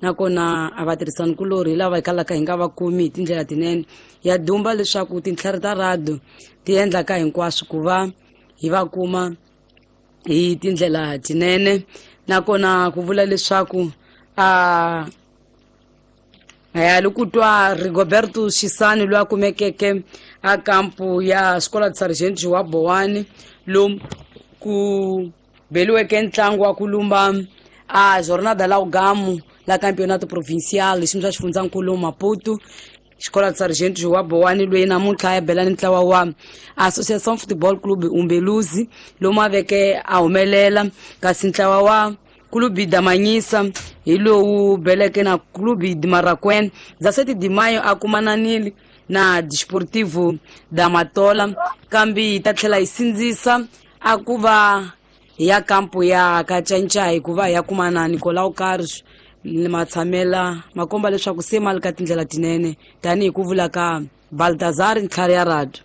nakona a va tirhisani kulorhi lava hi kalaka hi nga va kumi hi tindlela tinene ya dumba leswaku tintlhari ta radio ti endlaka hinkwaswo ku va hi va kuma hi tindlela tinene nakona ku vula leswaku a ya kutwa Rigoberto Shisani loyi a kumekeke a kampu ya Escola de Sargento wa Boane lomu ku beliweke ntlangu wa ku lumba a Jornada la Ugamu la Campeonato Provincial xiyimo xa xifundzankulu Maputo Escola de Sargento wa Boane loyi namuntlha ya bela ni ntlawa wa Associação Futebol Clube Umbeluzi lomu a veke a humelela kasi ntlawa wa Clube da Manhisa hi lowu beleke na Clube de Maracuene 17 de maio a kumananile na Desportivo da Matola kambe hi ta tlhela hi sindzisa a ku va ya kampo ya Kacanca hikuva hi ya kumana na Nicolau Carlos matshamela makomba leswaku se mali ka tindlela tinene tanihi ku vula ka Baltazar ntlhari ya radio.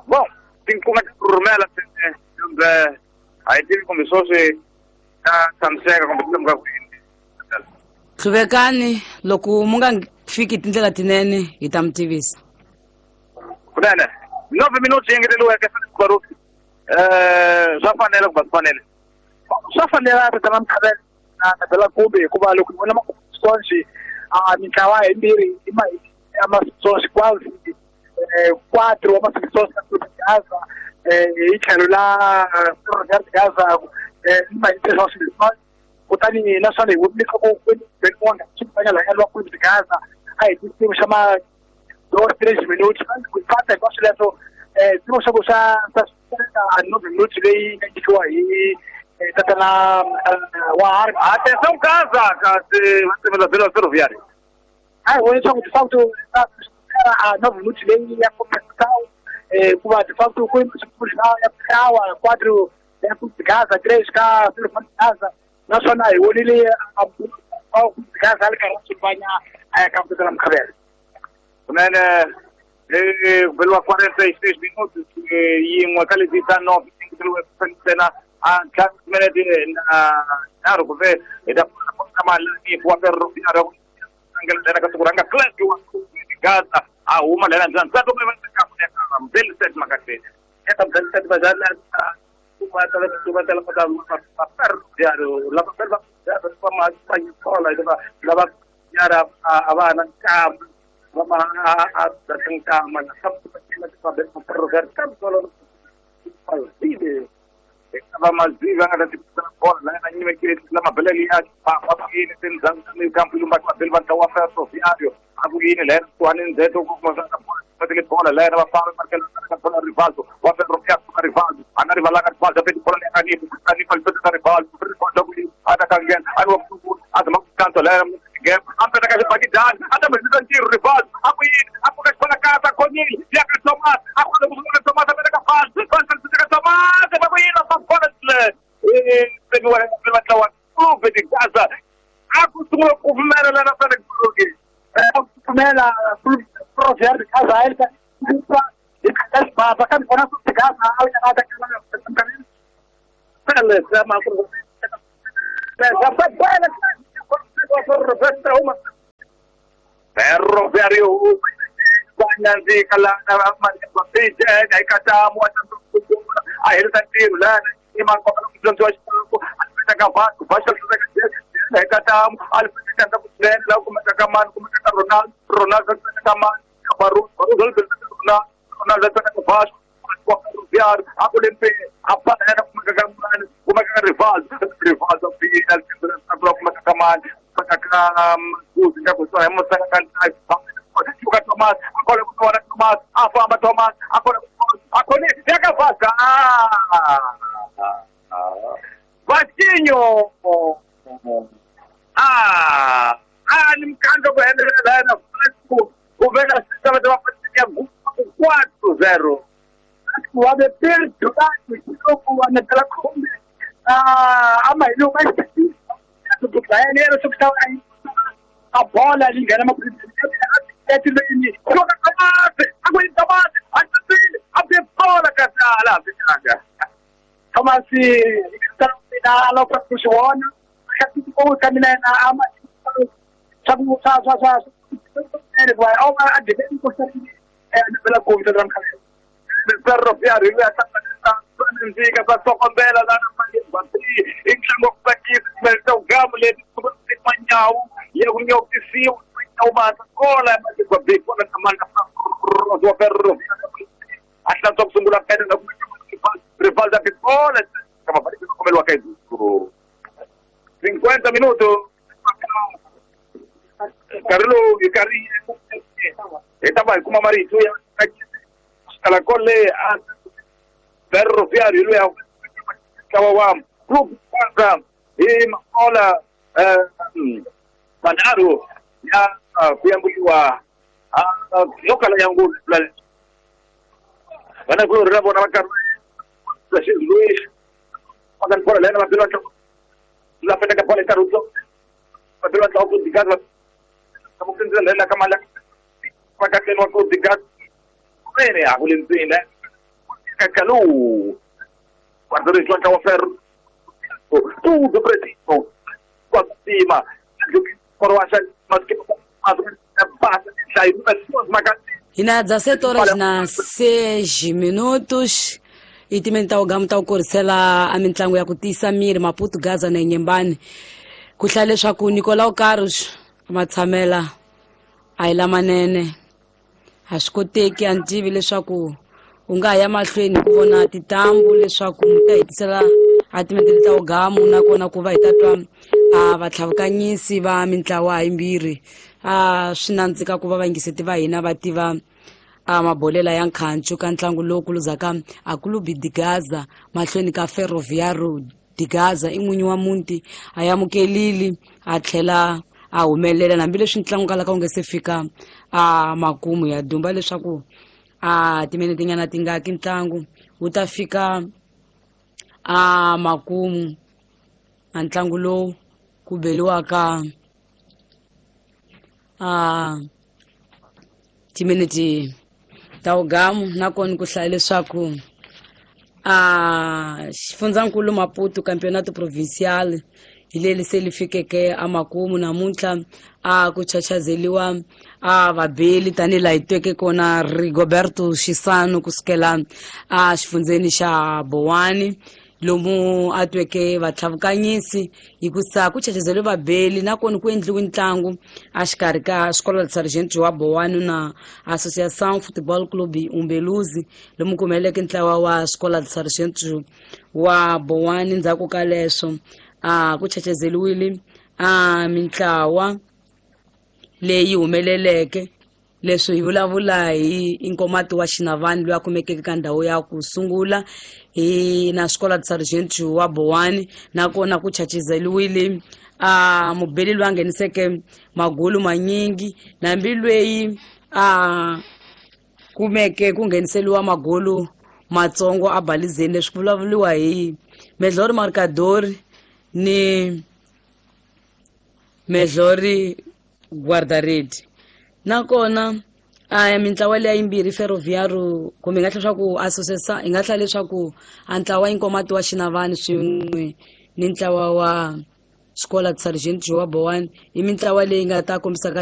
Bom, tinkuma ti rhumela kumbe a hi tivi kumbe sweswi ta tshamiseka kumbe ti lemuka kwini. Hluvekani loko mu nga fiki tindlela tinene hi ta mi tivisa. Kunene 9 minutos yi engeteriweke Baruti swa fanela ku va swi fanele swa fanela tatana Mkhabela na Bela Kumbe hikuva loko hi vona masonji a mintlawa yimbirhi i ma amasonji quase 4 wa masonji ka Clube de Gaza hi tlhelo la Ferroviário de Gaza i ma hi kutani naswona hi vona leswaku Benmonga swi fanya la lwa Clube de Gaza a hi xiyimo xa ma 2 3 minutos ku fata hinkwaswo leswo xiyimo xa ku xa a 9 minutos leyi nga nyikiwa hi tatana wa Harry. Atenção Gaza kasi va timela bela Ferroviário. A hi vona leswaku de facto a 9 minutos leyi ya compensação kuva de facto ku ya ntlawa 4 ya Clube de Gaza 3 ka Ferroviário de Gaza naswona hi vonile a Clube de Gaza a ri karhi a swi fanya a ya ka tatana Mkhabela. Kunene beliwa 46 minutos yin'we ka leti ta 9 ntsena a ntlhanu timinete na nharhu kumbe hi ta malani wa Ferroviário lena ka siku ranga Clank wa Gaza a huma lena ndzani ntsatu Mbeliset Makateni eka Mbeliset Bazana Ferroviário lava va hikuva lava yara a va na nkama va ma a nkama na va mazivi a nga ta tikisela bola la yena nyimekile la mabelele ya va yini tindhawu kampu lumba mabele va ntlawa wa Ferroviário a ku yini la yena kusuhani ndzheto ku kuma swa bola bola la yena va famba markela ka bola Rivaldo wa Ferroviário ka Rivaldo a nga rivalanga Rivaldo a peti bola leyi Anifa Anifa li peta Rivaldo Rivaldo ku a ta kangena a ni wa a zama ku kanto la yena game a peta ka xibakidani a ta mbisa ntirho Rivaldo a ku yini a pfuka xibala kasa khonile ya ka Thomas a ku ku sungula Thomas a peta ka Fals Fals ka Thomas va ku yini va bola va ntlawa Clube de Gaza a ku sungula ku pfumela lana Felix Baruti pfumela Ferroviário de Gaza ele tá kambe vona de Gaza Ferroviário Vasquinho! Ni mkando kuendelea na Vasco kuveka sasa 4-0. Wabe perdu kidogo wanataka kumbe ama ile mais a bola ali engana uma Minutos. Carlos estaba como amarillo Calacole a Ferroviário luego Club e Makola Manaro ya kuyambuliwa yokala yangu bana kulo rabo na bakar Luis pagan por la la pena que pone Caruso pero la oportunidad como que la cámara para que no oportunidad viene a Valentina Calu cuando le suelta a hacer tudo preciso quando cima por más que Ina 17 horas na 6 minutos e timenta o gamu ta ku korisela a mintlangu ya ku tiyisa miri Maputo Gaza na Nyembani ku hlaya leswaku Nicolau Carlos matshamela a hi lamanene a swi koteki a ni tivi leswaku u nga ya mahlweni ku vona titambu leswaku mi ta hetisela a timentele ta ugamu nakona ku va hi ta twa a vatlhavukanyisi va mintlawa yimbirhi a swi nandzika ku va vayingiseti va hina va tiva a mabolela ya nkhancu ka ntlangu lowu kuluzaka a Clube de Gaza mahlweni ka Ferroviário de Gaza i n'winyi wa muti a amukelile a tlhela a humelela hambileswi ntlangu kalaka wu nga se fika a makumu ya dumba leswaku a timinete nyana tingaki ntlangu wu ta fika a makumu a ntlangu lowu ku beliwaka a timinete ta ugamu nakona ku hlaya leswaku a xifundzankulu Maputo Campeonato Provincial hi leri se li fikeke a makumu namuntlha a ku chachazeliwa a vabeli tanihi laha hi tweke kona Rigoberto Xisano kusukela a xifundzeni xa Bowani lomu a tweke vatlhavukanyisi hikusa ku chachazeliwe vabeli nakona ku endliwe ntlangu a xikarhi ka Escola de Sargento wa Bowani na Associação Futebol Clube Umbeluzi lomu ku humeleleke ntlawa wa Escola de Sargento wa Bowani. Ndzhaku ka leswo a ku chachazeliwile a mintlawa leyi humeleleke leswi hi vulavula hi Inkomati wa Xinavani loyi a kumekeke ka ndhawu ya ku sungula hi na Escola de Sargento wa Bowani nakona ku chachazeliwile a mubeli loyi a ngheniseke magulu manyingi nambi loyi a kumeke ku ngheniseliwa magulu matsongo a balizeni leswi ku vulavuriwa hi Medlori Marcadori ni Medlori Guardaredi nakona A mintlawa leya yimbirhi Ferroviário kumbe hi nga hlaya leswaku associação hi nga hlaya leswaku a ntlawa Inkomati wa Xinavani swin'we ni ntlawa wa Escola de Sargento João Boane i mintlawa leyi nga ta kombisaka.